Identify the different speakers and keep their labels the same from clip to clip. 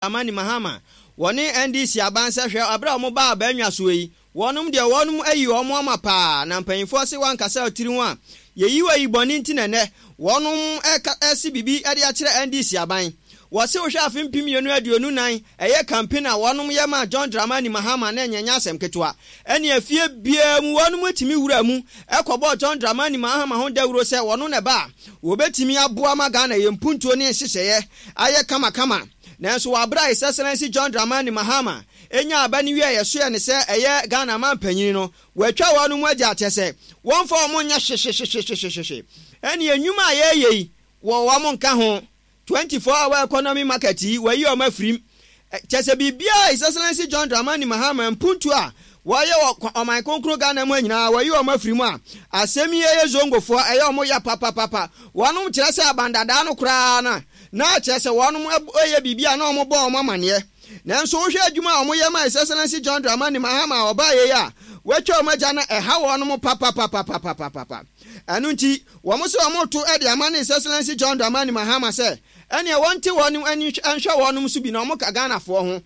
Speaker 1: Dramani Mahama, wɔne NDC aban sɛ hwɛ aberɛ a wɔn baa abannwa soɔ yi, wɔnom deɛ wɔnom ayi wɔn ama paa na mpanyinfoɔ se wankasa ɔtiri ho a yɛyi wo ayi bɔne nti na ɛnɛ wɔnom ɛka ɛse biribi de akyerɛ NDC aban. Wɔse wohwɛ afe 2024 ɛyɛ campaign a wɔnom yɛ maa John Dramani Mahama na ɛnyɛ nyɛ asɛm ketewa. Ɛne afie biara mu wɔnom tumi wura mu ɛkɔbɔɔ John Dramani Mahama ho dawuro sɛ wɔno na ɛba a wɔbɛtumi aboa ma Ghana yɛn mpuntuo ne nhyehyɛeɛ ayɛ kamakama. Nanso wɔ abere a His Excellency John Dramani Mahama nyaa aba no wieɛ yɛsoɛ no sɛ ɛyɛ Ghana manpanyin no, watwa wɔnom agya kyɛ sɛ wɔmfa wɔn nyɛ hwehwehwehwehwehwe. Ɛneɛ nnwuma a yɛreyɛ yi wɔ wɔn nka ho. 24 hour economy market yi wayi wɔn afirim. Kyɛ sɛ biribiara a His Excellency John Dramani Mahama mpuntuo a wɔyɛ wɔ ɔman kronkron Ghana mu ha nyinaa wɔyi wɔn afiri mu a, asɛm yi ɛyɛ Zongofoɔ ɛyɛ wɔn ya papapapa. Wɔnom kyerɛ sɛ abandadaa no koraa no na kyerɛ sɛ wɔnom yɛ biribi a na wɔbɔ wɔn amaneɛ. Nanso wohwɛ adwuma a wɔyɛ ma His Excellency John Dramani Mahama a ɔbaeɛ yi a, wɔatwa wɔn agya no ɛha wɔnom papapapapapapa. Ɛno nti wɔn se wɔreto de ama ne His Excellency John Dramani Mahama sɛ ɛneɛ wɔnte wɔnom ani nhwɛ wɔnom so bi na wɔka Ghanafoɔ ho.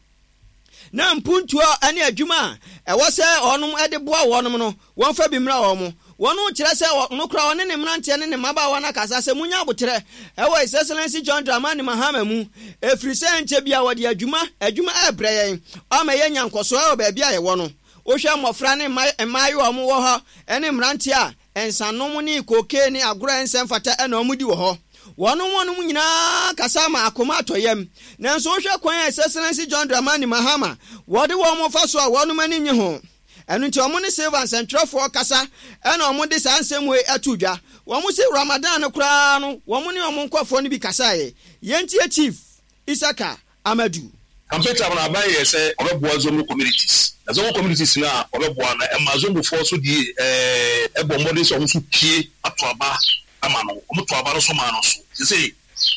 Speaker 1: Na mpuntuo ne adwuma a ɛwɔ sɛ wɔnom de boa wɔnom no, wɔmfa bi mmra wɔn. Wɔnom kyerɛ sɛ ɔno koraa ɔne ne mmeranteɛ ne ne mmabaawa no akasa sɛ monya aboterɛ wɔ His Excellency John Dramani Mahama mu, ɛfiri sɛ ɛnkyɛ biara wɔde adwuma adwuma rebrɛ yɛn ama yɛanya nkɔsoɔ wɔ baabi a yɛwɔ no. Wohwɛ mmɔfra ne mmaayewa a wɔwɔ hɔ ne mmeranteɛ a, Nsanom ne cocaine ne agorɔ a ɛnsɛ mfata na wɔdi wɔ hɔ. Wɔnom wɔnom nyinaa kasa ma akoma atɔ yam. Nanso wohwɛ kwan a His Excellency John Dramani Mahama wɔde wɔn fa so a wɔnom ani nnye ho. Ɛno nti wɔn ne Silver nsɛntwerɛfoɔ kasa na wɔde saa nsɛm wei ato dwa. Wɔn se Ramadan no koraa no wɔn ne wɔn nkurɔfoɔ no bi kasaeɛ. Yɛntie Chief Isaka Amadu.
Speaker 2: Campaign time no aban yɛɛ sɛ ɔbɛboa Zongo communities na Zongo communities no a ɔbɛboa no ɛma Zongofoɔ nso die ɛɛ bɔ mmɔden sɛ wɔn nso pue ato aba ama no wɔn to aba no nso maa no nso sesei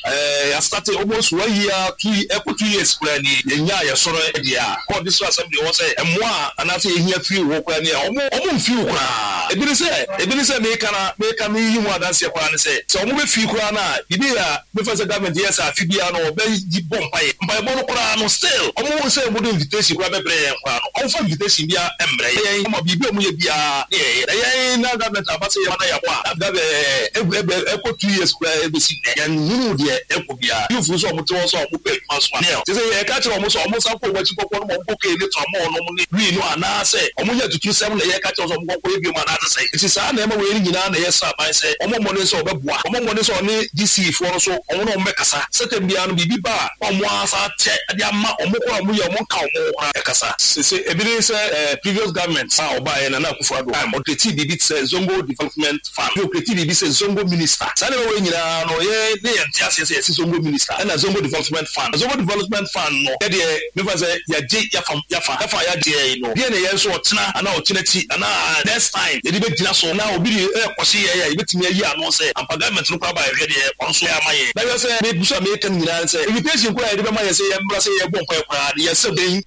Speaker 2: ɛɛ yɛastate almost one year two ɛkɔ 2 years koraa nie yɛnyaa yɛsɔre deɛ a kɔ district assembly hɔ sɛ mmoa a anaasɛ yɛhia firi hɔ koraa nie a wɔn wɔn mfii wo koraa ebi ne sɛ ebi ne sɛ meka na meka meyi ho adanseɛ koraa ne sɛ sɛ wɔn bɛfii koraa no a biribi a Mefa sɛ government yɛ sɛ afe biara no ɔbɛ yi bɔ mpaeɛ. Mpaebɔ no koraa no still ɔmo hu sɛ ɔmo de invitation koraa bɛbrɛ yɛn koraa no ɔmo fa invitation biara mmrɛ yɛn. Ɔmo biribi a ɔmo yɛ biara ne yɛyɛ. Na yɛn na government aba sɛ yɛma na yɛabɔ a na government ɛɛ ɛbɛ ɛkɔ 2 years koraa ɛbɛsi nnɛ yɛn nhunuu deɛ ɛkɔ biara. Youth nso a ɔmo te hɔ nso a ɔmo pɛ adwuma nso a nil. Te sɛ yɛka kyerɛ ɔmo sɛ ɔmo nsan kɔ ɔmo akyi nkɔkɔ nom ɔmo cocaine ne tramol nom ne wii no anaa sɛ ɔmo yɛ atuturusɛm na yɛka kyerɛ ɔmo sɛ ɔmo nkɔ nkɔyɛ biom anaa sɛ sɛn. Nti saa nneɛma wei no nyinaa na yɛsrɛ aban sɛ ɔmmɔ mmɔden sɛ ɔbɛboa. Ɔmmɔ mmɔden sɛ ɔne GC foɔ no nso ɔmo ne ɔmo bɛkasa sɛ tɛm biara no biribi ba a na ɔmo ara san akyɛ de ama ɔmo koraa a ɔmo yɛ ɔmo nka ɔmo ho koraa ɛkasa. Sese ebi ne sɛ previous government a ɔbaeɛ Nana Akufo Addo time ɔcreatii biribi te sɛ Zongo Development Fund bi ɔcreatii biribi sɛ Zongo Minister. Saa nneɛma wei nyinaa no yɛn ne yɛnte aseɛ sɛ yɛse Zongo Minister ɛna Zongo Development Fund. Na Zongo Development Fund no yɛdeɛ mefa sɛ yɛagye yɛafa yɛafa yɛafa a yɛagyeɛ yi no deɛn na yɛn nso ɔkyena anaa ɔkyena akyi anaa next time yɛde bɛgyina so na obi de rekɔhye yɛn a yɛbɛtumi ayi ano sɛ ampa government no koraa ba yɛhwɛ deɛ ɔno nso yɛ ama yɛn. Na hwɛ sɛ megu so a mereka no nyinaa ne sɛ invitation koraa a yɛde bɛma yɛn sɛ yɛmmra sɛ yɛrebɔ mpaeɛ koraa no yɛn sɛ dɛn.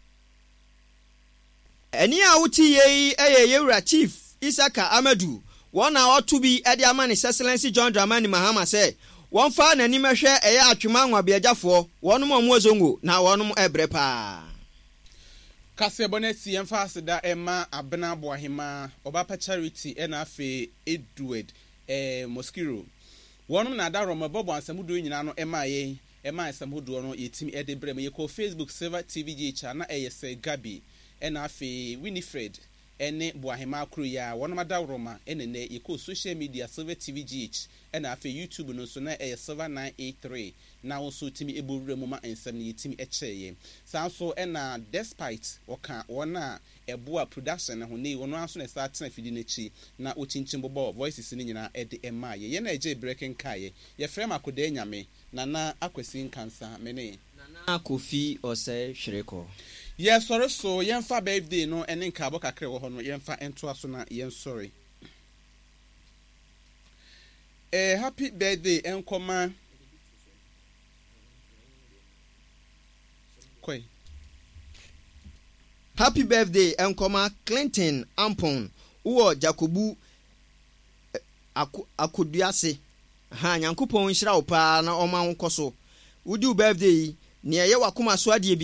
Speaker 1: Ɛnne a wote yei yɛ Yɛwura Chief Isaka Amadu, wɔn na ɔto bi de ama ne Sɛsɛlɛnsi John Dramani Mahama sɛ wɔmfa n'anim hwɛ ɛyɛ Atwema Nwabiagyafoɔ, wɔnom a wɔwɔ Zongo na wɔnom ɛbrɛ paa.
Speaker 3: Kaseɛbɔ no akyi, yɛmfa aseda mma Abena Boahemaa, Ɔbapa Charity ɛna afei Edward eh, Mosquero. Wɔnom na adaworoma bɔbɔ ansamuduo nyinaa no maa yɛn, ɛmaa nsɛm hodoɔ no yɛtumi de brɛ mo. Yɛkɔɔ Facebook Silver TV GH a na ɛyɛ Sir Gabi ɛna afei Winifred ɛne Boahemaa koro yi ara, wɔnom adaworoma ɛna nnɛ yɛkɔɔ social media Silver TV GH ɛna afei YouTube no nso na ɛyɛ Silver 983 na wo nso tumi bɔ wura mu ma nsɛm no yɛtumi kyɛeɛ. Saa nso na Despite ɔka wɔn a ɛboa production no ho, nnɛ yi ɔno ara nso na ɛsan tena afidie no akyi na ɔkyinkyim bobɔɔ voices no nyinaa de maa yɛn. Yɛn a ɛgyee berɛ kenkaeɛ, yɛfrɛ me Akodaa Nyame, Nana Akwasi Nkansah, me ne.
Speaker 1: Nana Kofi Osei Hwerekɔ.
Speaker 3: Yɛsɔre so, yɛmfa birthday no ne nkaabɔ kakra a ɛwɔ hɔ no yɛmfa ntoa so na yɛnsɔre. Eh happy birthday nkɔma kɔe.
Speaker 1: Happy birthday nkɔma Clinton Ampon wowɔ Jakobu Ako Akoduase ahaa Nyankopɔn nhyira wo paa na ɔma wo nkɔso wodi wo birthday yi. Nea ɛyɛ w'akoma so adeɛ biara.